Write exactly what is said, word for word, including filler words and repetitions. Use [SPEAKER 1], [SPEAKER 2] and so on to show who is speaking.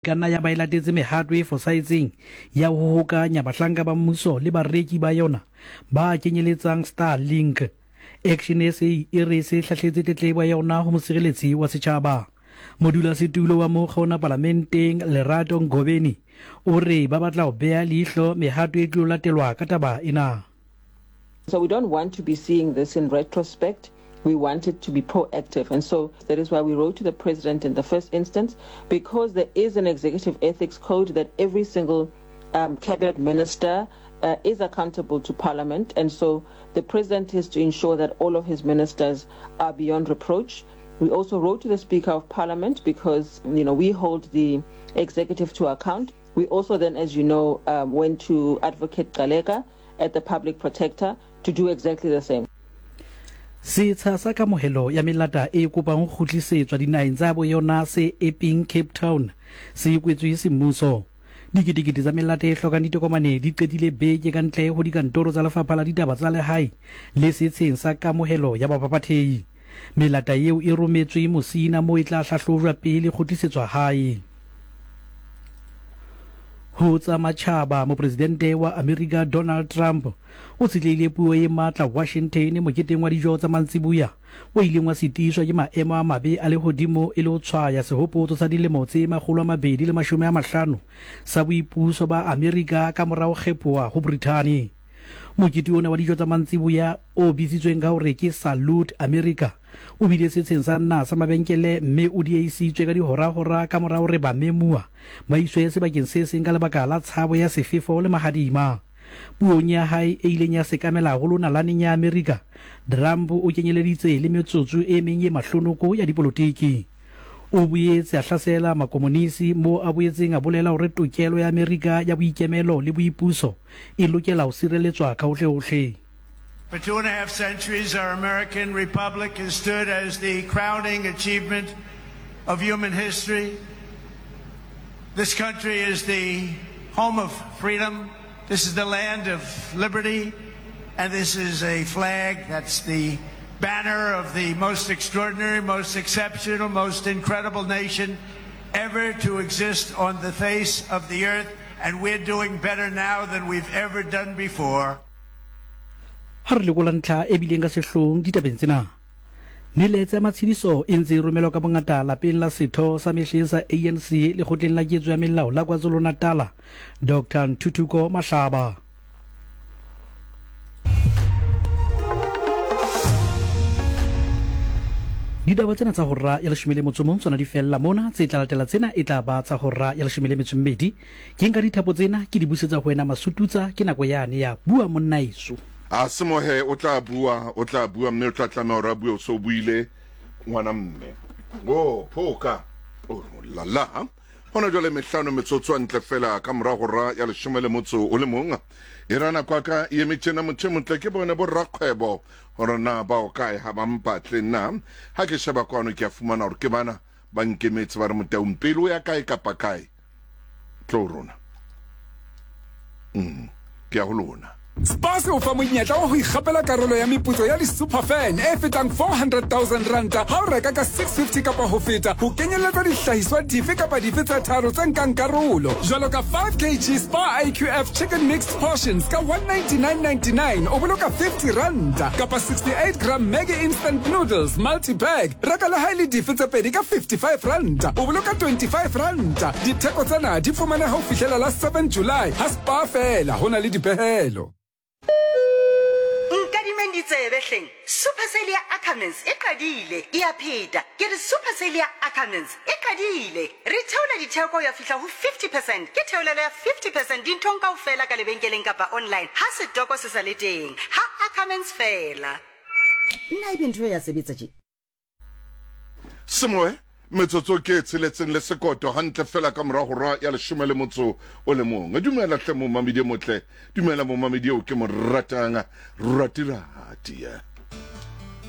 [SPEAKER 1] Ka nna ya ba e latetse mehato e fosahetseng ya ho hokanya bahlanka ba mmuso le bareki ba yona ba kenyeletsang Starlink. Action S A e re e se hlahletse tletlebo ya yona ho mosireletsi wa setjhaba. Modulasetulo wa mokga ona palamenteng Lerato Ngobeni o re ba batla ho beha leihlo mehato e tlo latelwa ka taba ena.
[SPEAKER 2] So we don't want to be seeing this in retrospect. We want it to be proactive. And so that is why we wrote to the president in the first instance, because there is an executive ethics code that every single um, cabinet minister uh, is accountable to parliament. And so the president is to ensure that all of his ministers are beyond reproach. We also wrote to the Speaker of Parliament because, you know, we hold the executive to account. We also then, as you know, um, went to Advocate Gcaleka at the Public Protector to do exactly the same.
[SPEAKER 1] Setsha sa kamohelo ya melata e kopang ho kgutlisetswa dinaheng tsa bo yona se Epping, Cape Town se kwetswe semmuso. Diketekete tsa melata e hlokang ditokomane di qetile beke ka ntle ho dikantoro tsa Lefapha la Ditaba tsa Lehae le setsheng sa kamohelo ya baphaphathehi. Melata eo e rometswe Musina moo e tla hlahlojwa pele kgutlisetswa hae. Ho tsa matjhaba, mopresidente wa Amerika Donald Trump o tshetlehile puo e matla Washington moketeng wa dijo tsa mantsiboya o ileng wa sitiswa ke maemo a mabe a lehodimo e le ho tshwaya sehopotso sa dilemo tse makgolo a mabedi le mashome a mahlano sa boipuso ba Amerika ka mora ho kgephoha ho Brithani. Mokete ona wa dijo tsa mantsiboya o bitsitsweng ka hore ke Salute America o bile setsheng sa naha sa mabenkele mme o diehisitswe ka dihorahora ka mora hore bamemuwa ba iswe sebakeng se seng ka lebaka la tshabo ya sefefo le mahadima. Puong ya hae e ileng ya sekamela haholo nalaneng ya Amerika, Trump o kenyeleditse le metsotso e meng e mahlonoko ya dipolotiki. O boetse a hlasela makomonisi moo a boetseng a bolela hore tokelo ya Amerika ya boikemelo le boipuso e lokela ho sireletswa ka hohlehohle.
[SPEAKER 3] For two and a half centuries, our American Republic has stood as the crowning achievement of human history. This country is the home of freedom. This is the land of liberty. And this is a flag that's the banner of the most extraordinary, most exceptional, most incredible nation ever to exist on the face of the earth. And we're doing better now than we've ever done before.
[SPEAKER 1] Ha re lekola ntlha e bileng ka sehloohong ditabeng tsena, melaetsa ya matshediso e ntse e romelwa ka bongata lapeng la setho sa mehleng sa A N C lekgotleng la ketso ya melao la KwaZulu-Natal, Doctor Ntuthuko Mahlaba. Ditaba tsena tsa hora ya leshome le motso mong tsona di fella mona, tse tla latela tsena e tla ba tsa hora ya leshome le metso mmedi. Ke nka dithapo tsena ke di busetsa ho wena Masututsa, ke nako yane ya bua monna eso.
[SPEAKER 4] A semohe o tla bua, o tla bua mme o tla tlameha hore a bue o so buile ngwana mme. O phoka. O la la. Hona jwale mehlano metsotso ntle fela ka mora hora ya leshome le motso o le mong. E rana kwa ka e eme tjena motho e motle ke bone bo rakgwebo hore na ba o kae ha ba mpatle nna. Ha ke sheba kwano ke a fumana hore ke bana ba nkemetse ba re Motaung pele o ya kae kapa kae. Tlo rona. Mm. Ke ya ho lona.
[SPEAKER 5] Spar se o fa monyetla wa ho ikgapela karolo ya meputso ya di-superfan e fetang four hundred thousand ranta ha o reka ka six fifty kapa ho feta, ho kenyeletsa dihlahiswa dife kapa dife tse tharo tse nkang karolo, jwalo ka five kilograms Spar I Q F chicken mixed portions ka one ninety-nine ninety-nine o boloka fifty ranta, kapa sixty-eight gram Maggi instant noodles multi bag reka le ha e le dife tse pedi ka fifty-five ranta o boloka twenty-five ranta. Ditheko tsena di fumaneha ho fihlela la seven July ha Spar fela ho na le dipehelo.
[SPEAKER 6] Nkadimeng ditsebe hleng. Super Sale ya Ackermans e qadile, e a pheta. Ke re Super Sale ya Ackermans e qadile. Re theola ditheko ya fihla ho fifty percent. Ke theolelo ya fifty percent dinthong kaofela ka lebenkeleng kapa online. Ha setoko se sa le teng. Ha Ackermans fela.
[SPEAKER 7] Nna ebe ntho ya sebetsa tje.
[SPEAKER 4] Semoe metsotso ke tsheletseng le sekoto hantle fela ka mora hora ya leshome le motso o le mong. Dumela hle momamedi motle, dumela momamedi eo ke mo ratang, ratirati.